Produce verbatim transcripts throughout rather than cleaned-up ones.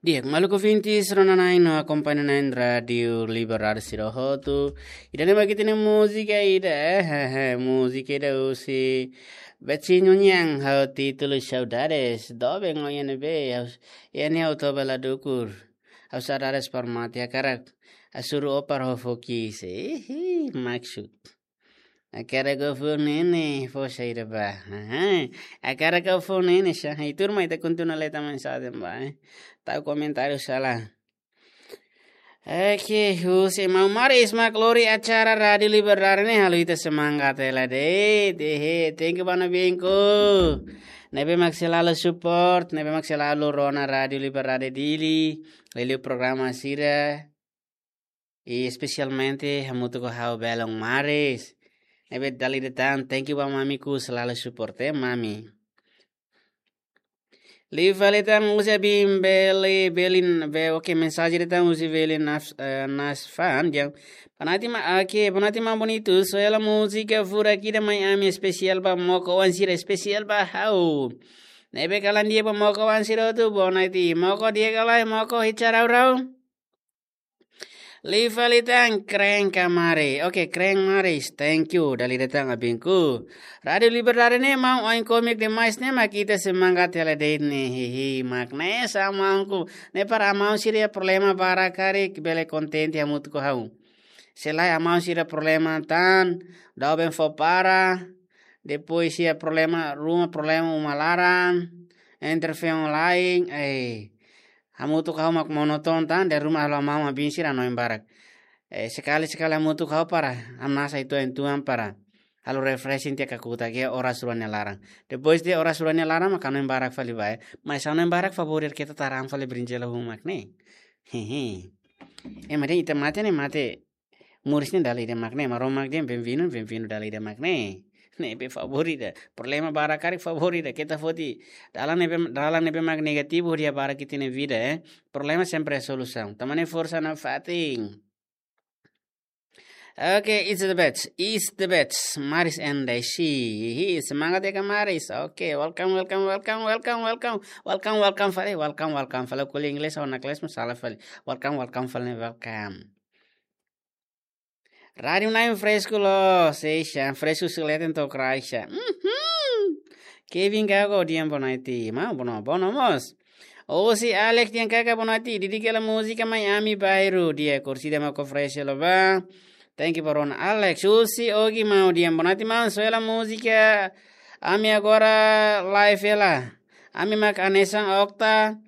Di'ak, maluk ouvintes, rona-na'in no akompaña-na'in Rádiu Liberdade sira hotu. Ida-ne'e mak ita-nia múzika ida, eh, eh, eh, múzika ida husi Betinho Niang, ha'u títulu Saudades. Doben ohin ne'ebé, ha'u, iha ne'e ha'u toba la dukur. Ha'u saudades para mate, hakarak hasoru ó para ó fó ki'ik. Ihi, maksud. Hakarak ó fó ne'e ne'e, fó saida ba. Aha. Hakarak ó fó ne'e ne'e, sa. Hai, turma, ita kontinua leta mensajen ba, eh. Tau komentáriu sala. Oke, husi Maun Maris mak lori acara Rádiu Liberdade ne'e halo ita semangat hela de'it. Ehe, thank you ba nabinku. Ne'ebé mak selalu support, ne'ebé mak selalu rona Rádiu Liberdade Dili, liuliu programa sira. I espesialmente hamutuk ho ha'u belun Maris. Ne'ebé dala ida tan, thank you ba mamiku selalu support, eh, mami. Liu fali tan husi Abin Beli, Belin, be, oke, mensajen ida tan husi Belin Nas-, eh, Nasfan, dehan: Boa noite ma-, oke, boa noite maun bonitu, só hela múzika furak ida mai ami, espesiál ba mokos-oan sira, espesiál ba ha'u. Ne'ebé kalan di'ak ba mokos-oan sira hotu, boa noite. Mokos di'ak ka lae, mokos hitsarau-rau. Liu fali tan, keren ka Maris. Oke, keren Maris. Thank you. Dala ida tan, abinku. Rádiu Liberdade ne'e maun, oin kómiku demais ne'e mak ita semangat hela de'it ne'e. Hihi, mak ne'e sa maunku. Ne'e para maun sira problema barak karik bele kontente hamutuk ho ha'u. Se lae maun sira problema tan, doben fó para. Depois iha problema ruma, problema uma laran, entre feon lain, eh, hamutuk ho ha'u mak monotonu tan, dala ruma halo maun abin sira hanoin barak. Eh, sekali-sekali hamutuk ho ha'u para hamnasa uitoan-uitoan para halo refreshing tiha kakutak iha oras rua nia laran. Depois de oras rua nia laran mak hanoin barak fali ba, eh. Mas hanoin barak favór ida, keta taran fali brinjela hun mak ne'e. Hehe. Eh, mas dehan ita mate ne'e mate moris ne'e dala ida mak ne'e, Maromak dehan benvindu, benvindu dala ida mak ne'e. Ne'ebé favór ida. Problema barak karik favór ida. Keta foti dalan ne'ebé, dalan ne'ebé mak negativu hodi habarak ita-nia vida, eh. Problema sempre iha solusaun. Tanba ne'e forsa nafatin. Oke, it's the best. It's the best. Maris and Desi. Hihi, semangat ya, Kak Maris. Oke, welcome, welcome, welcome, welcome, welcome. Welcome, welcome fali, welcome, welcome fali. Ko'alia inglés, ha'u nakles, masalah fali. Welcome, welcome fali, welcome. Rádiu Nain fresku loos, seixa, fresku sileten to kraisha. Mhm. Kevin Gago, dehan boa noite. Maun, boa no-, boa no mós. Husi Alex, dehan kaka boa noite. Dedika hela múzika mai ami bairru. Di'ak, orsida mak oferese hela ba. Thank you ba rona Alex. Husi Ogi maun, dehan boa noite maun. Só hela múzika. Ami agora live hela. Ami mak hanesan Okta.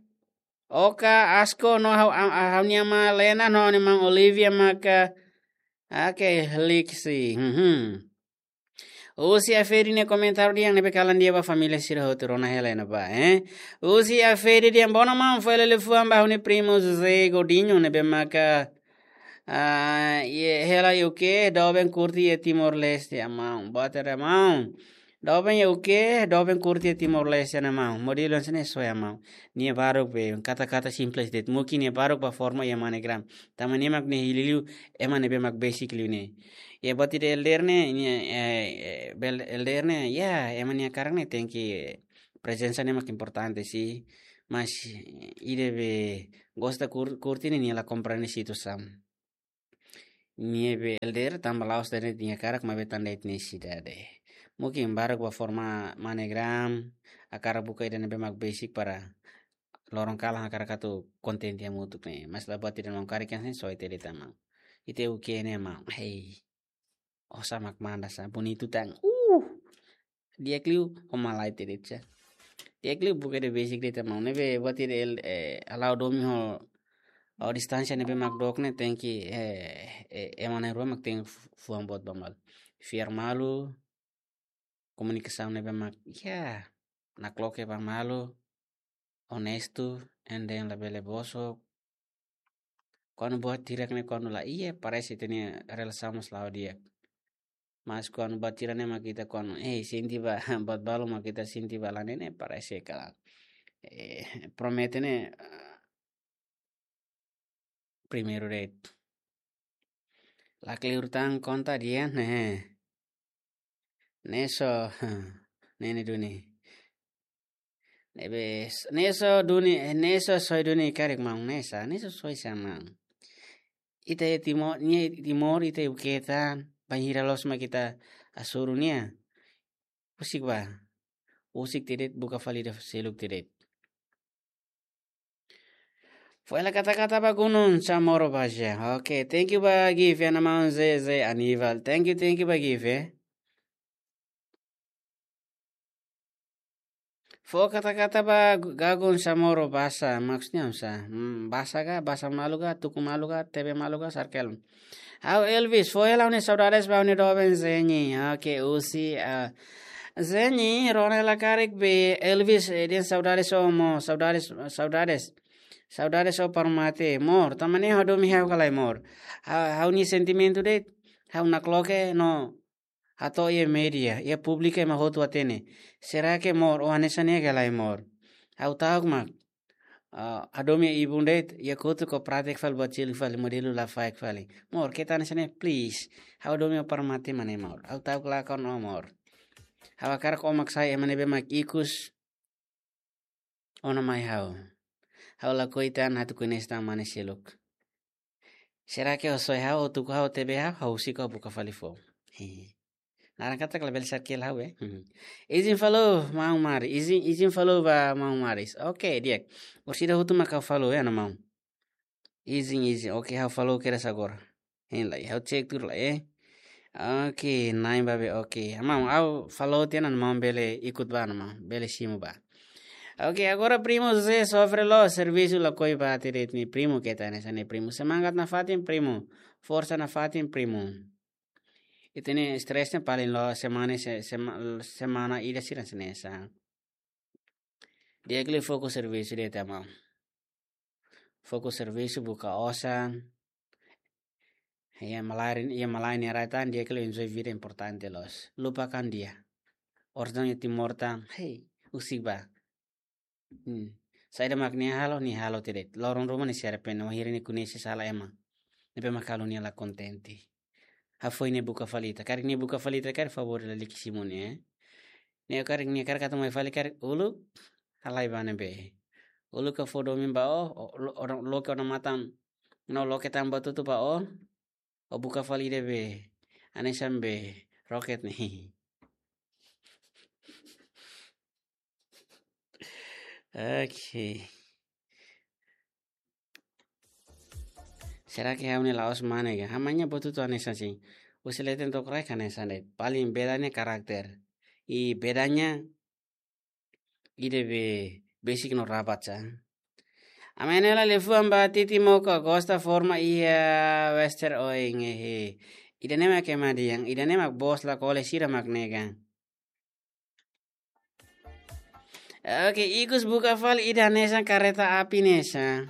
Oka, Asko, no ha'u, a, a, ha'u-nia ama Lena, no ha'u-nia maun Olivia maka. Oke, liksi. Mhm. Husi Afedi nia komentáriu dehan ne'ebé kalan di'ak ba família sira hotu, rona hela iha ne'ebá, eh. Husi Afedi dehan boa no maun, fó hela liafuan ba ha'u-nia primu José Godinho ne'ebé maka, ah, iha hela iha U K, doben kurti iha Timor-Leste, ah maun. Boa tarde, maun. Doben iha U K, doben kurti iha Timor-Leste ne'e maun. Modelu hanesan ne'e só ya maun. Nia baruk be, kata-kata simples de'it. Mungkin nia baruk ba forma iha MoneyGram. Tanba nia mak ne'e hili liu, ema ne'ebé mak besik liu ne'e. Iha buat ida elder ne'e, nia, eh, eh, bel-, elder ne'e, ya, ema nia hakarak ne'e tenke, eh, prezensa ne'e mak importante sih. Mas, eh, ida be gosta kur-, kurti ne'e nia la komprende situasaun. Nia be elder tanba la'ós de'it nia hakarak, maibé tanba de'it nia nesesidade. Mungkin baruk ba forma MoneyGram, hakarak buka ida ne'ebé mak besik para loron kalan hakarak atu kontente hamutuk ne'e. Mas la buat ida maun, karik hanesan ne'e só ita de'it maun. Ita U K ne'e maun. Hei. Osan mak manda sa, bonitu tan. Uh. Di'ak liu, ho malae ita de'it sa. Di'ak liu buka ida besik de'it maun. Ne'ebé buat ida el-, eh, halo domin ho, ho distánsia ne'ebé mak dook ne'e tenke, eh, eh, ema na'in-rua mak tenke fu-, fuan boot ba malu. Fiar malu, komunikasaun ne'ebé mak, ya, nakloke ba malu, onestu, and then labele bosok. Kuandu buat hirak ne'e kuandu laiha, parese ita-nia relasaun mós la'o di'ak. Mas kuandu buat hirak ne'e mak ita kuandu, eh, sente ba, buat balu mak ita sente ba la ne'e, parese kalan, eh, promete ne'e, ah, primeiru de'it. La kleur tan konta dehan, eh. Ne'e só, ne'e ne'e duni. Ne'ebé, ne'e só duni, ne'e só soe duni karik maun, ne'e sá, ne'e só soe sá maun. Ita iha Timor, nia Timor, ita iha buka tan, bainhira loos mak ita hasoru nia. Husik bá. Husik tiha de'it, buka fali ida seluk tiha de'it. Fó hela kata-kata ba Gunung Chamorro Baja. Oke, thank you ba Give, ya, maun Zeze Aníbal. Thank you, thank you ba Give, eh. Fó kata-kata ba Gu-, Gagun Chamorro Baja, maksudnya apa? Hmm, Baja ka, Baja malu ka, tuku malu ka, T V malu ka, sarkel. Ha'u Elvis, fó hela ha'u-nia saudades ba ha'u-nia doben Zeni. Oke, husi, ah, Zeni, rona hela karik be Elvis, eh, dehan saudades ó mós, saudades, saudades. Saudades ó para mate, amor. Tanba ne'e ha'u hadomi ha'u ka lae, amor. Ha-, ha'u-nia sentimentu de'it, ha'u nakloke no hato'o iha média, iha públiku ema hotu hatene. Será que amor, ó hanesan ne'e ka lae, amor? Ha'u ta'uk mak, ah, hadomi ibun de'it, iha kotuk ó pratik fali, buat seluk fali, modelu lafaek fali. Amor, keta hanesan ne'e, please. Ha'u hadomi ó para mate mak ne'e, amor. Ha'u ta'uk lakan ó, amor. Ha'u hakarak ó mak sai ema ne'ebé mak ikus ona mai ha'u. Ha'u lakohi tan atu koñese tan mane seluk. Será que ó soe ha'u, ó tuku ha'u, T V ha'u, ha'u husik ó buka fali foun. Hii. Naran katak labele sarkel ha'u, eh. Hmm. Izin fali, maun Mari. Izin, izin fali ba maun Maris. Oke, di'ak. Orsida hotu mak ha'u fali, eh, no maun. Izin, izin. Oke, ha'u fali kedas agora. Hein lai, ha'u cek tuur lai, eh. Oke, na'in ba be, oke. Maun, ha'u fali tiha ona, maun bele ikut bá ona, maun. Bele simu bá. Oke, agora primu Zé sofre loos, servisu lakohi bá tiha de'it, nia primu keta hanesan ne'e, primu. Semangat nafatin, primu. Forsa nafatin, primu. Ita-nia estrés ne'e paling loos semana, se-, sema-, semana ida sira hanesan ne'e sá. Di'ak liu fokus servisu de'it, maun. Fokus servisu, buka osan. Iha malae, iha malae nia rai tan, di'ak liu enjoy vida importante loos. Lupakan dia. Orsida iha Timor tan, hei, husik bá. Hmm. Saida mak nia halo, nia halo tiha de'it. Loron ruma nia se arrepende, wainhira nia koñese sala ema ne'ebé mak halo nia la kontente. Hafoin nia buka fali ita. Karik nia buka fali ita, karik favór lalika simu nia, eh. Nia karik, nia karik atu mai fali karik uluk halai ba ne'ebé. Uluk ka fó domin ba ó, ó, lo-, ó, loke ó-nia matan. No loke tan buat hotu ba ó. Ó buka fali ida be hanesan be roket ne'e. Oke. Será que ha'u-nia la'ós mane ka? Ha'u-nia buat hotu hanesan sin. Husi leten to'o kraik hanesan de'it. Paling bedanya karakter. I bedanya ida be besik no rabat sá. Ami-nia hela liafuan ba Titi Moka, gosta forma iha Western Oing, eh. Ida-ne'e mak ema dehan, ida-ne'e mak bos la kole, sira mak nega. Oke, ikus buka fali ida hanesan kareta api ne'e sá.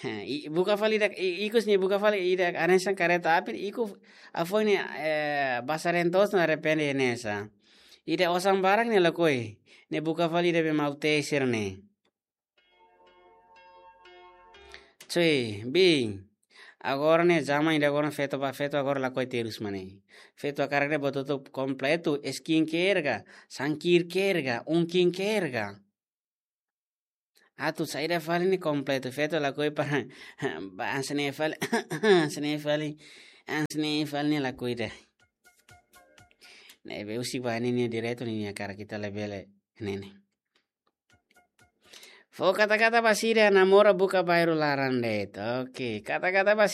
Ha, i-, buka fali ida, i-, ikus nia buka fali ida hanesan kareta api, ikus hafoin nia, eh, basá reen toos no arrepende ne'e sá. Ida osan barak nia lakohi, nia buka fali ida be maun Tei sira ne'e. Cuy, bin. Agora ne'e zaman ida agora feto ba feto agora lakohi terus mak ne'e. Feto hakarak de'it buat hotu kompletu, skincare ka, sun care ka, ungkin care ka. Atu saida fali ne'e kompletu, feto lakohi para, ba hanesan ne'e fali, hanesan ne'e fali, hanesan ne'e fali nia lakohi de'it. Ne'ebé husik ba ne'e nia direitu, nia hakarak, ita labele ne'e. Fó kata-kata ba sira namora buka bairru laran de'it. Oke, kata-kata ba sira